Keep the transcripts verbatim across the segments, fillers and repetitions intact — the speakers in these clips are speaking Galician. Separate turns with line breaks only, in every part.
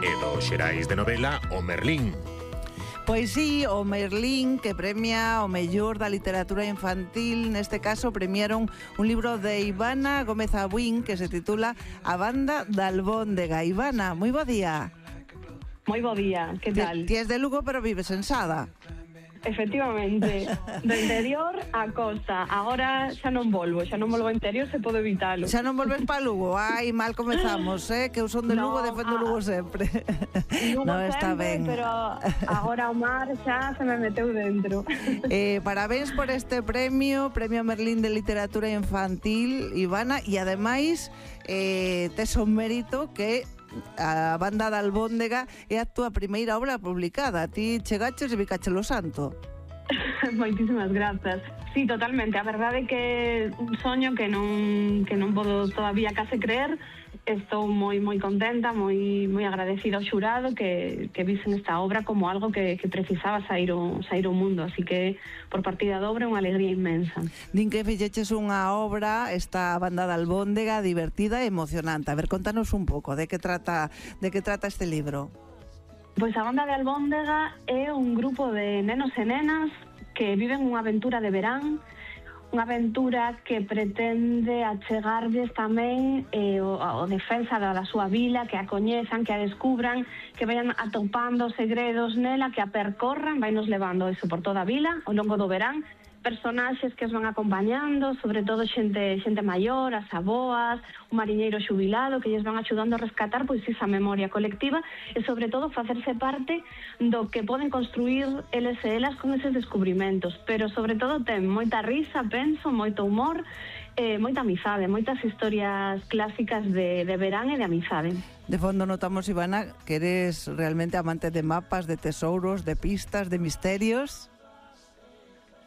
e do Xerais de novela O Merlín.
Pois sí, o Merlín, que premia o mellor da literatura infantil. Neste caso premiaron un libro de Ivana Gómez Abuín que se titula A banda da Albóndega. Ivana, moi bo día.
Moi bo día, que tal?
Ti és de Lugo pero vives en Sada.
Efectivamente, do interior á costa. Agora xa non volvo, xa non volvo ao interior, se pode evitalo.
Xa non volves pa Lugo? Ai, mal comezamos, eh? Que eu son de Lugo,
No,
defendo
ah,
Lugo sempre.
Lugo
No, está
sempre,
ben.
pero agora o mar xa se me meteu dentro.
Eh, parabéns por este premio, Premio Merlín de Literatura Infantil, Ivana, e ademais eh, tes un mérito que a banda da Albóndega é a túa primeira obra publicada. Ti chegaches e bicachelo santo.
Moitísimas grazas. Sí, totalmente. A verdade é que un soño que non que non podo todavía case creer. Estou moi moi contenta, moi moi agradecida ao xurado que que visen esta obra como algo que que precisaba sair o sair ao mundo, así que por partida de obra unha alegría inmensa.
Din que fixeches unha obra, esta banda da Albóndega, divertida e emocionante. A ver, contanos un pouco de que trata de que trata este libro.
Pois a banda de Albóndega é un grupo de nenos e nenas que viven unha aventura de verán, unha aventura que pretende achegarlles tamén eh, o, o defensa da, da súa vila, que a coñezan, que a descubran, que vayan atopando segredos nela, que a percorran, vai nos levando eso por toda a vila ao longo do verán, personaxes que os van acompañando, sobre todo xente xente maior, as aboas, un mariñeiro xubilado que lles van axudando a rescatar pois esa memoria colectiva e sobre todo facerse parte do que poden construir eles e elas con eses descubrimentos, pero sobre todo ten moita risa, penso, moito humor, eh, moita amizade, moitas historias clásicas de, de verán e de amizade.
De fondo notamos, Ivana, que eres realmente amante de mapas, de tesouros, de pistas, de misterios.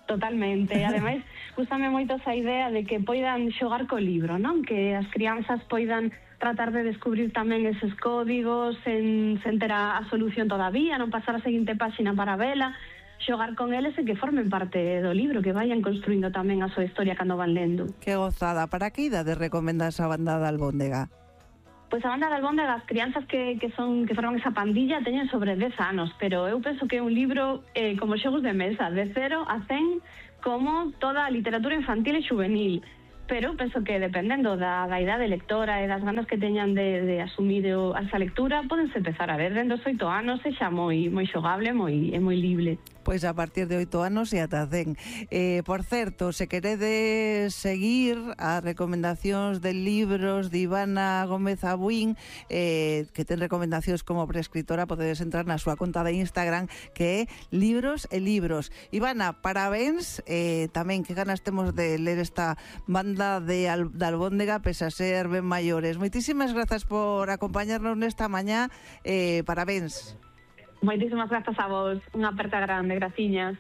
Totalmente, ademais, gústame moito esa idea de que poidan xogar co libro, non? Que as crianzas poidan tratar de descubrir tamén eses códigos sen, sen ter a, a solución todavía, non pasar a seguinte páxina para vela, xogar con eles e que formen parte do libro, que vayan construindo tamén a súa historia cando van lendo.
Que gozada. Para que idade recomendas a banda da Albóndega?
Pois a banda de Albóndega, as crianzas que, que son que forman esa pandilla teñen sobre dez anos, pero eu penso que é un libro eh, como xogos de mesa, de cero a cen, como toda a literatura infantil e juvenil. Pero penso que dependendo da, da idade lectora e das ganas que teñan de, de asumir o, esa lectura, podense empezar a ver dende os oito anos e xa moi, moi xogable moi, e moi libre.
Pois a partir de oito anos e ata cen. Eh, por certo, se queredes seguir as recomendacións de libros de Ivana Gómez Abuín, eh, que ten recomendacións como preescritora, podedes entrar na súa conta de Instagram, que é Libros e Libros. Ivana, parabéns, eh, tamén que ganas temos de ler esta banda de, Al de Albóndega, pese a ser ben maiores. Moitísimas grazas por acompañarnos nesta mañá, eh, parabéns.
Moitísimas grazas a vos, unha aperta grande, graciñas.